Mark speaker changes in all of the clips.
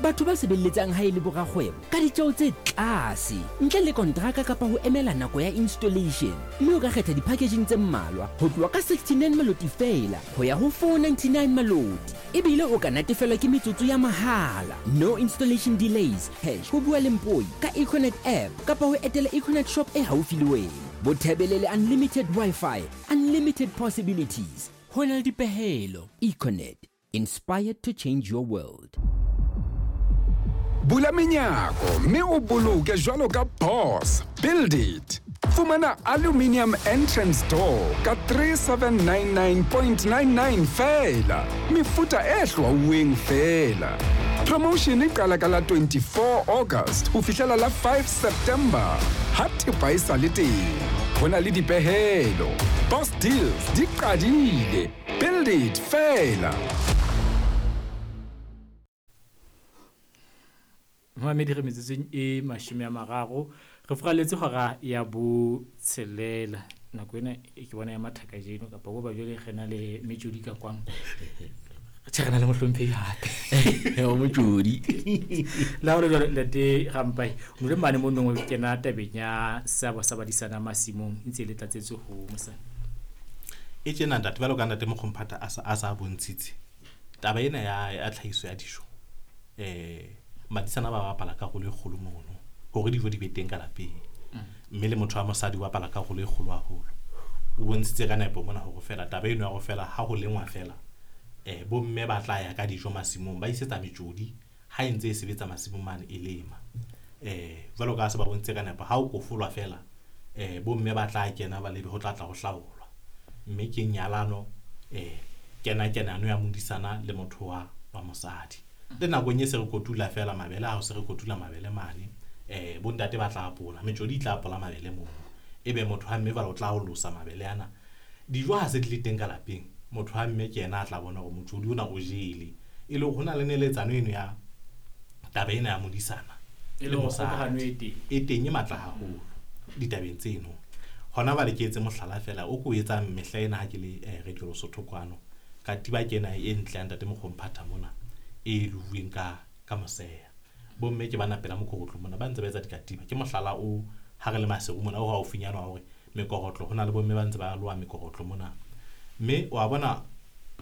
Speaker 1: Batho ba sebeletsang ha e le borakgwebo ka ditjeo tse tlase ntle le kontraka kapa ho emela nako ya installation, mme o ka kgetha di-packaging tse mmalwa ho tloha ka 69 maloti feela ho ya ho 499 maloti. Ebile o ka natefelwa ke metsotso ya mahala, no installation delays, hash ho bua le Mpoi ka Econet app kapa ho etela Econet shop e haufi le wena. Bothebele le unlimited Wi-Fi, unlimited possibilities. Ho na le dipehelo. Econet, inspired to change your world.
Speaker 2: Bula menyako mme o boloke jwalo ka boss. Build it. Fumana aluminium entrance door ka 3799.99 feela. Mefuta e hlwauweng feela. Promotion e qala ka la 24 August ho fihlela la 5 September. Ha thepa e sa le teng, ho na le dipehelo. Boss deals di qadile. Build it feela.
Speaker 3: Momamedi, re metsotsong e 30, re furaletse hora ya botshelela. Nako ena e ke bona ya mathaka jeno kapa bo ba jwale re na le metjodi ka kwang. Tjhe, re na le mohlomphehi hape.
Speaker 4: O motjodi.
Speaker 3: La hore jwale ntate Rampai, o le mane mo nong o kena tabeng ya seabo sa badisana masimong e ntse e le tlatsetso ho mosadi.
Speaker 5: E tjena ntate, jwalo ka ntate Mokgomphata a sa bontshitse taba ena ya tlhahiso ya dijo, badisana ba bapala karolo e kgolo mono hore dijo di be teng ka lapeng, mme le motho wa mosadi o bapala karolo e kgolo haholo. O bontshitse ka nepo mona hore fela taba eno ya hore fela ha ho lengwa fela, bomme ba tla ya ka dijo masimong, ba isetsa metjodi ha e ntse e sebetsa masimong mane e lema. Jwalo ka ha se ba bontshitse ka nepo, ha o kofolwa fela, bomme ba tla kena ba lebe ho tla tla ho hlaolwa, mme ke nyalano, kena kenano ya modisana le motho wa mosadi. Le nakong e se re kotula fela mabele, ha o se re kotula mabele mane, bontate ba tla apola, metjodi e tla apola mabele mono, ebe motho wa mme jwale o tla olosa mabele ana. Dijo ha se di le teng ka lapeng, motho wa mme ke yena a tla bona hore motjodi ona o jele. E le hore ho na le neletsano eno ya taba ena ya modisana
Speaker 3: E
Speaker 5: le
Speaker 3: le hore
Speaker 5: mosadi.
Speaker 3: kgokahano e teng.
Speaker 5: E teng e matla haholo ditabeng tseno. Hona jwale ke etse mohlala fela o ko o etsang mehla ena ha ke le Radio Lesotho kwano. Katiba ke ena e ntle ya ntate Mokgomphata mona e luweng ka moseya. Bomme ke bana pela mokorotlo mona ba ntse ba etsa dikatiba. Ke mohlala o ha re le Maseru mona o haufinyana wa hore mekorotlo, ho na le bomme ba ntse ba loha mekorotlo mona. Mme wa bona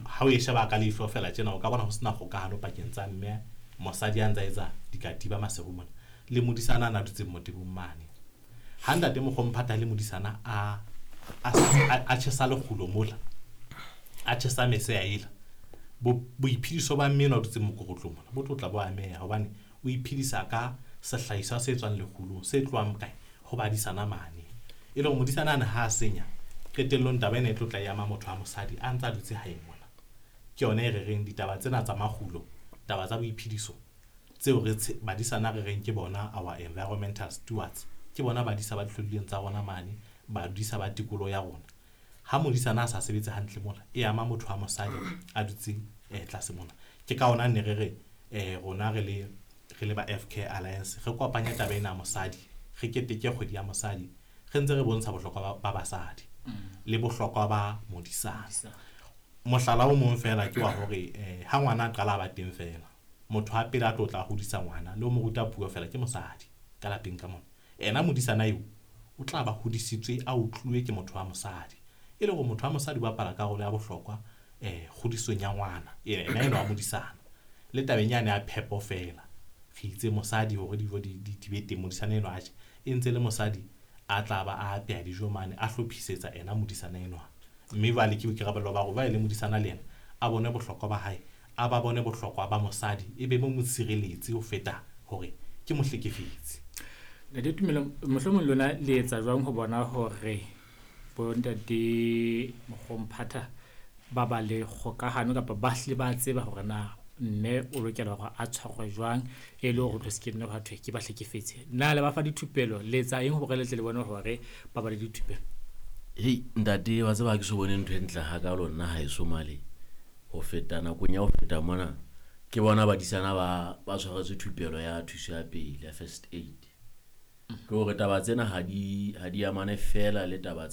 Speaker 5: ha o e sheba ka leihlo fela tjena, o ka bona ho sena kgokahano pakeng tsa mme mosadi a ntse a etsa dikatiba Maseru mona le modisana a na dutseng motebong mane. Ha ntate Mokgomphata le modisana a tjhesa lekgulo mola, a tjhesa meseya ela, boiphediso ba mme enwa a dutseng mokorotlong mona bo tlo tla bo ameha, hobane o iphedisa ka sehlahiswa se tswang lekgulong se tlohang kae ho badisana mane. E le hore modisana ane ha a senya, qetellong taba ena e tlo tla e ama motho wa mosadi a ntse a dutse hae mona. Ke yona e re reng ditaba tsena tsa makgulo, taba tsa boiphediso tseo re badisana re reng ke bona our environmental stewards, ke bona badisa ba dihlodileng tsa rona mane, badisa ba tikoloho ya rona. Ha modisana a sa sebetse hantle mona, e ama motho wa mosadi a dutseng tlase mona. Ke ka hona ne re re, rona re le ba FK Alliance re kopanya taba ena ya mosadi, re keteke kgwedi ya mosadi, re ntse re bontsha bohlokwa ba basadi le bohlokwa ba modisana. Mohlala o mong fela ke wa hore, ha ngwana a qala a ba teng fela, motho ha pele a tlo tla hodisa ngwana le ho mo ruta puo fela ke mosadi ka lapeng ka mona. Ena modisana eo o tla ba hodisitswe a utluwe ke motho wa mosadi. E le hore motho wa mosadi o bapala karolo ya bohlokwa, kgodisong ya ngwana, ena enwa wa modisana. Le tabeng yane ya phepo fela, re itse mosadi hore dijo di be teng, modisana enwa a je, e ntse le mosadi a tla ba a apeha dijo mane, a hlophisetsa ena modisana enwa. Mme jwale ke boikarabelo ba hore jwale le modisana le yena a bone bohlokwa ba hae, a ba bone bohlokwa ba mosadi, e be mo mo tshireletse ho feta hore ke mohlekefetsi.
Speaker 3: Ntate Tumelo, mohlomong lona le etsa jwang ho bona hore bontate Mokgomphata ba ba le kgokahano kapa ba hlile ba tseba hore na mme o lokela hore a tshwarwe jwang e le hore o tlo se ke nne hwa thwe ke ba hlekefetse? Na le ba fa dithupelo, le etsa eng hore le tle le bone hore ba ba le dithupelo?
Speaker 4: Hei ntate, wa tseba ha ke so bone ntho e ntle hakalo nna haeso male ho feta nakong ya ho feta mona, ke bona badisana ba tshwaretswe thupelo ya thuso ya pele ya first aid. Ke hore taba tsena ha di amane fela le taba tsa